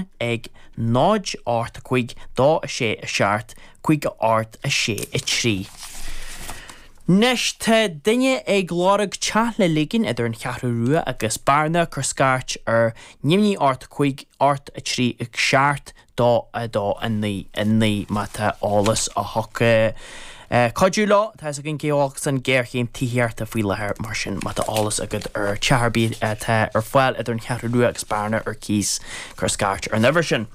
Árann ag 0 8 5 2 6 7 5 8 6 3. Anois tá duine ag lorg teach le ligean idir an Cheathrú Rua agus Bearna, cuir scairt ar neamhní 8 5 8 3 7 2 2 9 9 má tá eolas a thiocfadh cuidiú leo. Tá fhios againn cé chomh holc is an ghéarchéim tithíochta faoi láthair, mar sin má tá eolas agat ar teach ar bith atá ar fáil idir an Cheathrú Rua agus Bearna ar cíos, cuir scairt ar an uimhir sin.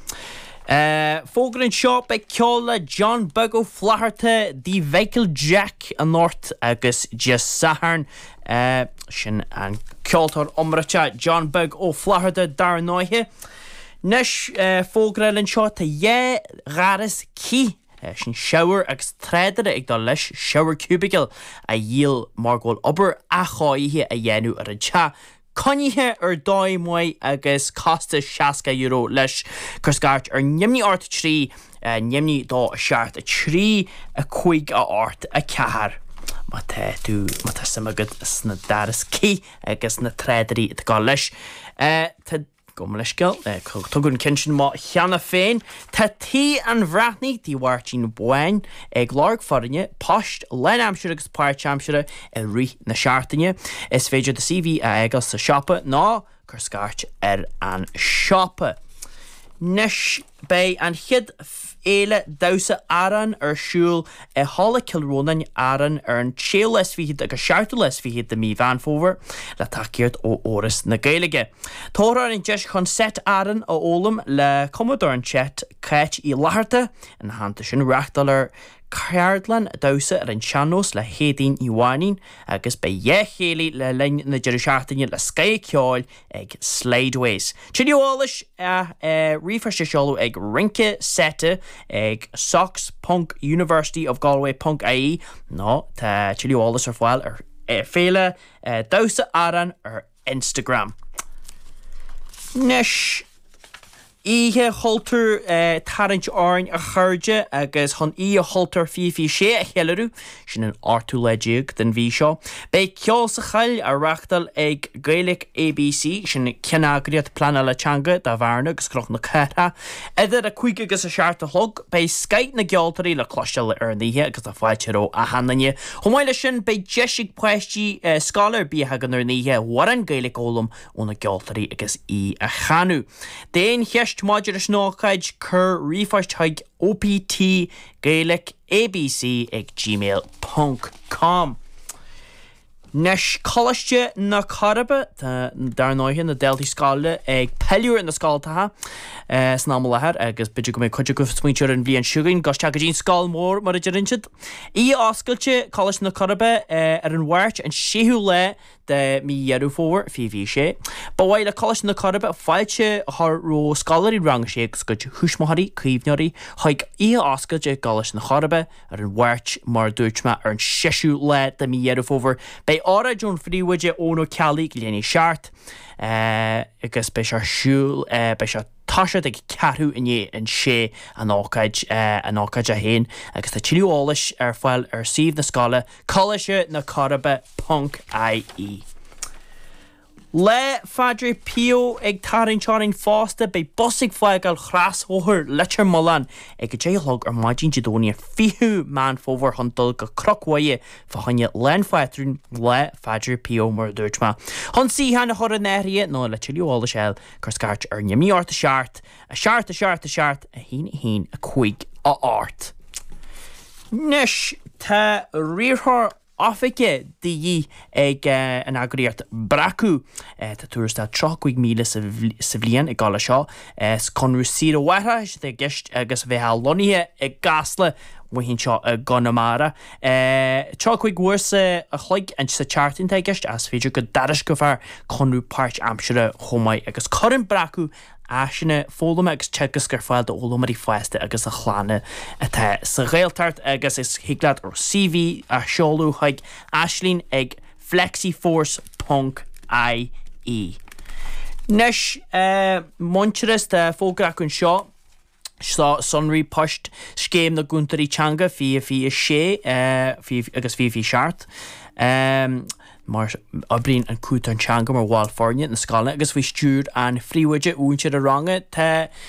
Fógra anseo, beidh ceol le John Beag Ó Flatharta dTigh Mhichael Jack anocht agus Dé Sathairn. Sin an ceoltóir iomráiteach John Beag Ó Flatharta dar ndóighe. Anois, fógra eile anseo, tá dhá ghaireas cith, sin shower agus tráidire ag dul leis, shower cubicle, á dhíol mar go bhfuil obair athchóirithe á dhéanamh ar an teach. Coinnithe ar dóigh maith agus costas €60 leis. Cuir scairt ar neamhní 8 3, neamhní 2 7 3, 5 8 4 má tá tú, má tá suim agat sna gaireas cith agus na tráidirí atá ag dul leis. Tá. Gabh mo leithscéal, tugadh an ceann sin amach cheana féin. Tá Tigh an Bhreathnaigh, Tigh Mháirtín Bháin, ag lorg foirne, poist lánaimsire agus páirtaimsire i rith na seachtaine. Is féidir do CV a fhágáil sa siopa nó cuir scairt ar an siopa. Anois, beidh an chéad Fhéile Damhsa Arann ar siúl i Halla Chill Rónáin, Árainn ar an séú lá is fichead agus seachtú lá is fichead de mhí Mheán Fómhair le tacaíocht ó Fhoras na Gaeilge. Tabharfar an deis chun seit Árann a fhoghlaim le cumadóir an tseit, Cáit Uí Fhlatharta. Ina theannta sin, reáchtálfar ceardlann damhsa ar an sean-nós le hÉadaoin Ní Mhainín agus beidh dhá chéilí le linn na deireadh seachtaine le scoth ceoil ag Slideways. Tuilleadh eolais, ríomhphost a sheoladh ag rince seite ag socs ponc universityofgalway ponc ie nó tá tuilleadh eolais ar fáil ar Féile Damhsa Árann ar Instagram. Anois, Oíche Chultúir tarraingt orainn a chairde agus chun Oíche Chultúir 2026 a cheiliúradh, sin an ochtú lá déag den mhí seo, beidh Ceol sa Choill á reáchtáil ag Gaelic ABC, sin ceanneagraíocht pleanála teanga do Bhearna agus Cnoc na Cathrach. Idir 5 agus 7 a chlog, beidh scoith na gceoltóirí le cloisteáil ar an oíche agus tá fáilte roimh achan duine. Chomh maith leis sin, beidh deis ag páistí scoile ar bith a thagann ar an oíche amhrán Gaeilge a fhoghlaim ó na gceoltóirí agus í a chanadh. D'aon cheist maidir leis an ócáid, cuir ríomhphost chuig optgaelicabc ag gmail ponc com. Anois, Coláiste na Coiribe, tá, dar ndóighe, na daltaí scoile ag pilleadh ar na scoltacha san am i láthair agus b'fhéidir go mbeidh cuid acu ag smaointiú ar an bhliain seo chugainn, dul isteach go dtí an scoil mhór mar a deireann siad. Oíche oscailte, Coláiste na Coiribe ar an Mháirt, an 6ú lá de mhí Dheireadh Fómhair 2026. Ba mhaith le Coláiste na Coiribe fáilte a chur roimh scoláirí Rang 6 agus a gcuid thuismitheoirí, caomhnóirí chuig oíche oscailte i gColáiste na Coiribe ar an Mháirt, mar a dúirt mé, ar an seisiú lá de mhí Dheireadh Fómhair. Beidh óráid ón phríomhoide Eoin Ó Ceallaigh ag leath i ndiaidh 7 agus beidh sé ar siúl, beidh sé. toiseacht ag ceathrú i ndiaidh an sé an ócáid an ócáid é féin agus tá tuilleadh eolais ar fáil ar suíomh na scoile Coláiste na Coiribe ponc ie. Lá Phádraig Pio ag tarraingt orainn fosta, beidh bus ag fágáil chrosbhóthar Leitir Mealláin ag 10 a chlog ar maidin Dé Domhnaigh an 20ú Meán Fómhair chun dul go Cnoc Mhuire fá choinne Lá an Phátrúin, Lá Phádraig Pio mar a dúirt mé. Chun suíochán a chur in áirithe nó le tuilleadh eolais a fháil Cuir scairt ar neamhní 8 7 7 7 7 1 1 5 8. Anois tá riarthóir oifige de dhíth ag an eagraíocht Breacadh. Tá tuarastal 35,000 sa bhliain ag dul leis seo. Is conradh saoire mháithreachais atá i gceist agus bheifeá lonnaithe i gCasla amuigh anseo i gConamara. 35 uair sa a chloig sa tseachtain atá i gceist ach is féidir go dtairisceofar conradh páirtaimseartha chomh maith agus cuireann Breacadh áiseanna foghlama agus teagasc ar fáil d'fhoghlaimeoirí fásta agus a chlanna atá sa Ghaeltacht agus is thig leat CV a sheoladh chuig Aisling ag flexiforce ponc ie. Anois, Muintearas, tá fógra acu anseo. Seo sonraí poist Scéim na gCúntóirí Teanga 2026 agus 2027. Mar oibríonn an Cúntóir Teanga mar bhall foirne na scoile agus faoi stiúir an phríomhoide mhúinteora ranga. Tá.